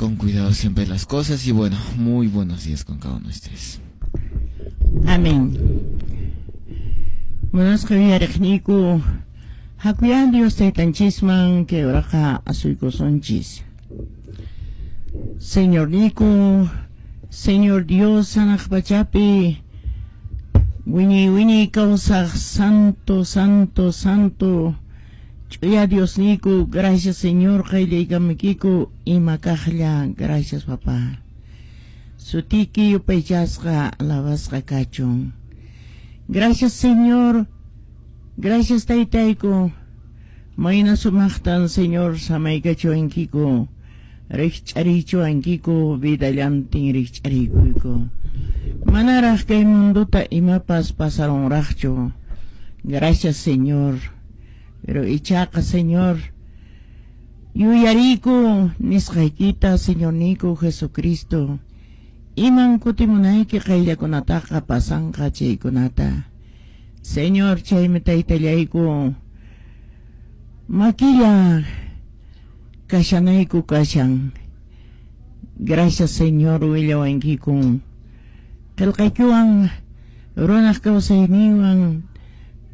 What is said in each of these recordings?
Con cuidado siempre las cosas y bueno, muy buenos días con cada uno de ustedes. Amén. Munasqa uyariqniyku, hakuyan Dios Taytanchisman kay uraqa asuykusunchis. Señorniyku, Señor Dios hanaq pachapi wiñay wiñay kawsaq santo, santo, santo ch'uya Diosniyku, gracias, Señor, qayllaykamuykiku ima kaqlla, gracias, papá. Sutiki yupaychasqa alabasqa kachun. Gracias, Señor. Gracias, Taytayku. Mayna sumaqtan, Señor, samaykachiwankiku. Rikch'arichiwankiku vidallantin rikch'arikuyku. Manaraq kay mundota imapas pasarunraqchu. Gracias, Señor. Pero ichaqa, Señor, yuyariku nisqaykita, Señorniyku Jesucristo. Iman kutimunayki qayllakunataqa pasanqa chaykunata. Señor, chaymi Taytallayku makilla kashanayku kashan. Gracias, Señor, willawankiku. Qillqaykiwan runaq kawsayninwan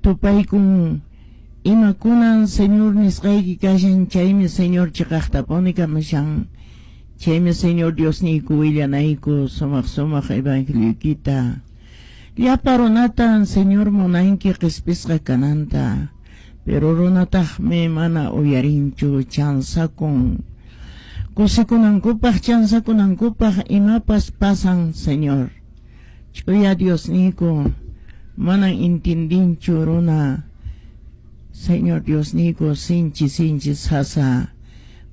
tupaykun imakunan Señor nisqayki kashan, chaymi, Señor, chiqaqtapuni kamushan. Chaymi, Señor Diosniyku, willanayku sumaq sumaq evangelioykita. Llapa runatan, Señor, munanki qispisqa kananta. Pero runataqmi mana uyarinchu, chansakun. Kusikunankupaq chansakunankupaq imapas pasan, Señor. Ch'uya Diosniyku, manan intindinchu runa. Señor Diosniyku, sinchi sinchi sasa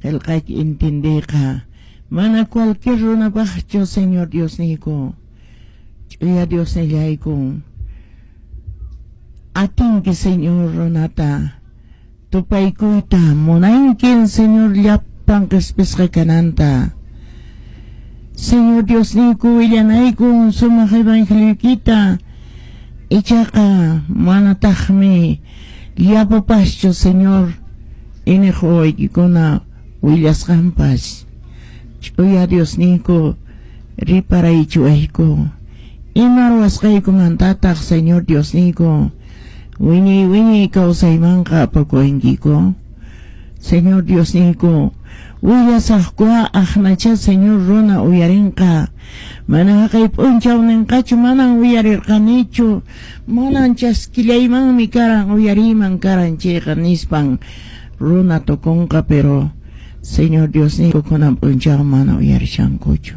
qillqayki intindiyqa. Mana cualquier runapaqchu, Señor Diosniyku. Ch'uya Diosnillayku. Atinki, Señor, runata tupaykuyta, munankin, Señor, llapan qispisqa kananta. Señor Diosniyku, willanayku sumaq evangelioykita, ichaqa manataqmi llapapaschu, Señor, iñiq wawaykikuna willasqanpas. Ch'uya Diosniyku, riparaychiwayku. Ima ruwasqaykumantataq, Señor Diosniyku, wiñay wiñay kawsaymanqa apakuwankiku? Señor Diosniyku, willasaqkuqa aqnacha, Señor, runa uyarinqa. Mana haqay p'unchaw ninqachu: "Manan uyarirqanichu, manan chaskillaymanmi karan, uyariyman karan chayqa", nispan runa tukunqa, pero, Señor Diosniyku, kunan p'unchaw mana uyarishankuchu.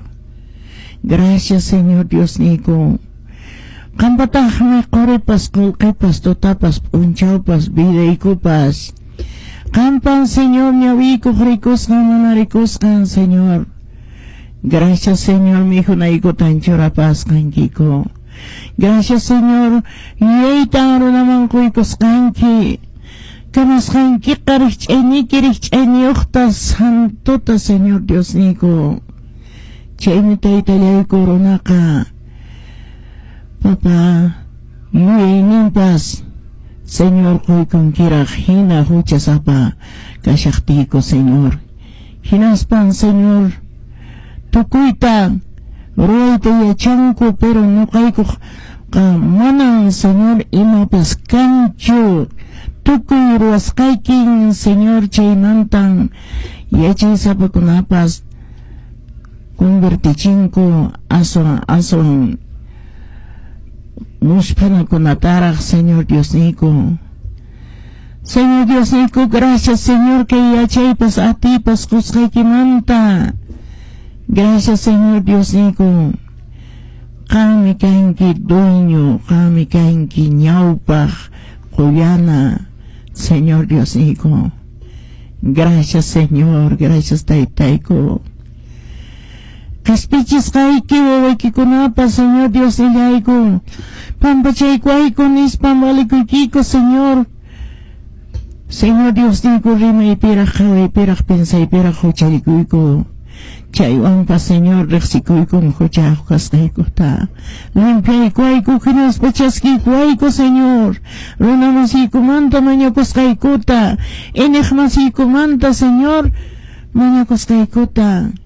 Gracias, Señor Diosniyku. Qampataqmi qoripas, qullqipas, tutapas, p'unchawpas, vidaykupas. Qampan, Señor, ñawiykuq rikusqan, mana rikusqan, Señor. Gracias, Señor, mikhunaykutan churapasqankiku. Gracias, Señor, yuyaytan runaman quykusqanki. Kamasqankiqa rikch'ayniyki rikch'ayniyuqta santota, Señor Diosniyku. Chaymi, Taytallayku, runaqa, papá, yuyayninpas, Señor, quykunkiraq hina huchasapa kashaqtiyku, Señor. Hinaspan, Señor, tukuyta ruwayta yachanku, pero ñuqaykuqa manan, Señor, imapas kanchu. Tukuy ruwasqaykin, Señor, chaymantan yachaysapakunapas convertichinku aswan aswan musphanakunataraq, Señor Diosniyku. Señor Diosniyku, gracias, Señor, kay yachaypas atiypas qusqaykimanta. Gracias, Señor Diosniyku. Qanmi kanki dueño, qanmi kanki ñawpaq qullana, Señor Diosniyku. Gracias, Señor, gracias, Taytayku. Qhispichisqayki wawaykikunapa, Señor Diosnillayku, pampachaykuwayku nispan valikuykiku, Señor. Señor Diosniyku, rimaypiraq, qhawaypiraq, pensaypiraq huchallikuyku. Chaywanpas, Señor, riqsikuykun huchayuq kasqaykuta. Limpiaykuwayku hinaspa chaskiykuwayku, Señor. Runa masiykumanta mañakusqaykuta, iñiq masiykumanta, Señor, mañakusqaykuta.